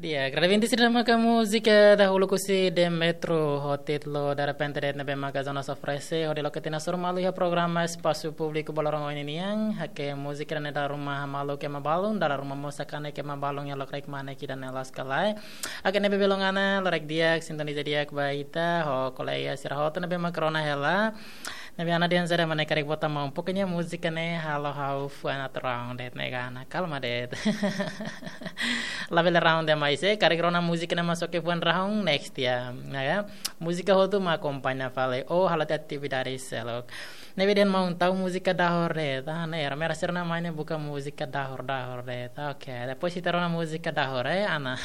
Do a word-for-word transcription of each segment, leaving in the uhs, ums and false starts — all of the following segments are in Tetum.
Di'ak, Radeventi sira, ne'e maka múzika dahuluk husi Demetro ho títulu Darrepente de'it, ne'ebé maka Jonas oferese hodi loke tiha ona suru malu iha programa Espasu Públiku Baloron Ohin nian. Oke, múzika ne'e dala ruma hamaluk ema balun, dala ruma mós hakanek ema balun iha lokraik mane ida-ne'e, loos ka lae. Oke, ne'ebé belun, Ana, loraik di'ak, sintoniza di'ak ba ita ho kolega sira hotu ne'ebé maka rona hela. Ne'ebé Ana dehan saida mak ne'e, karik bota maun. Pokoknya múzika ne'e halo ha'u fuan atu round de'it, ne'e ka, Ana, kalma de'it. Labele round demais, eh, karik rona múzika ne'e mak soke fuan round, next ya, ya. Múzika hotu mak akompaña fali, oh, halo tiha atividade seluk. Ne'ebé dehan maun tau múzika dahor de'it, ah, ne'e, ramera sira-nia mai ne'e buka múzika dahor, dahor de'it. Oke, depois ita rona múzika dahor, eh, Ana.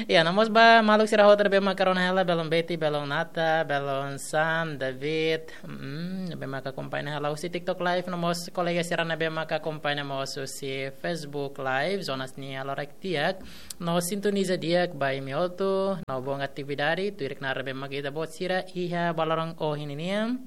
Ya, no mós ba maluk sira hotu ne'ebé maka rona hela, belun Betty, belun Nata, belun Sam, David, mm, ne'ebé maka akompaña hela husi TikTok Live, no mós kolega sira ne'ebé maka akompaña mós husi Facebook Live, Jonas nian, loraik di'ak, no sintoniza di'ak ba imi hotu, no bom atividade, tuir knaar ne'ebé maka ita-boot sira iha Baloron Ohin nian.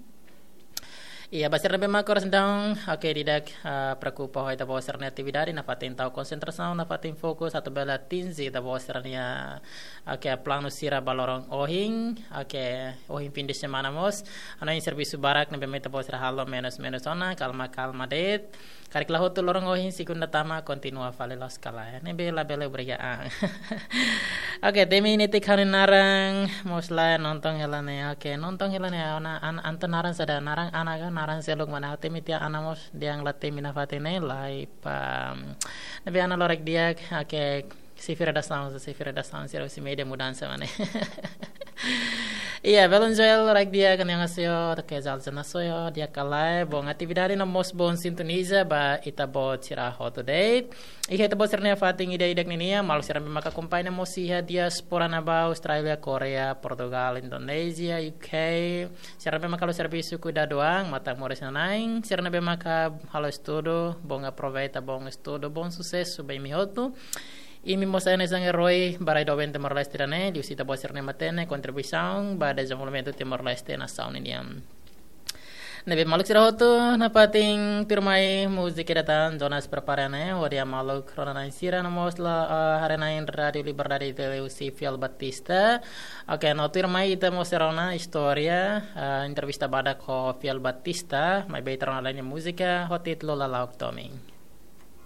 Iha ba sira ne'ebé maka oras ne'e daudaun, oke, di'ak, ah, preokupa ho ita-boot sira-nia atividade, nafatin tau konsentrasaun, nafatin fokus, atu bele atinje ita-boot sira-nia, oke, planu sira Baloron Ohin, oke, ohin fim de semana mós, hanoin servisu barak ne'ebé mak ita-boot sira halo menus-menus ona, kalma-kalma de'it. Karik la hotu loron ohin, segunda tama, kontinua fali, loos ka lae. Ne'ebé labele obriga an. Oke, temi netik ha'u-nia naran, mós la nonton hela ne'e. Oke, nonton hela ne'e, Ana, an, entaun naran saida, naran Ana ka, naran seluk mak ne'e, temi tiha Ana mós, dehan la temi nafatin ne'e, lai pa. Ne'ebé Ana loraik di'ak, oke, xefe redasaun, xefe redasaun, sira husi média mudansa mak ne'e. Iya, belun Joel, loraik di'ak, annyeonghaseyo, oke, Zal Janasoyo, di'ak ka lae, bom atividade no mós bom sintoniza ba ita-boot sira hotu de'it. Iha ita-boot sira-nia fatin ida-idak ninian, maluk sira ne'ebé maka akompaña mós iha diáspora ne'ebá, Austrália, Koreia, Portugal, Indonézia, U K, sira ne'ebé maka halo servisu kuidadu an, matan-moris nanain, sira ne'ebé maka halo estudu, bom aproveita, bom estudu, bom susesu ba imi hotu. Imi mós hanesan eroi ba rai doben Timor-Leste ida-ne'e, liuhusi ita-boot sira-nia matenek, kontribuisaun ba dezenvolvimentu Timor-Leste, nasaun ninian. Ne'ebé maluk sira hotu, nafatin tuirmai múzika ida tan Jonas prepara ne'e, hodi maluk rona-na'in sira no mós la, eh, haree-na'in Rádiu Liberdade liuhusi Fiel Batista. Oke, no tuirmai ita mós rona istória, eh, entrevista badak ho Fiel Batista, maibé ita rona lai nia múzika ho títulu Lala'ok Tomin.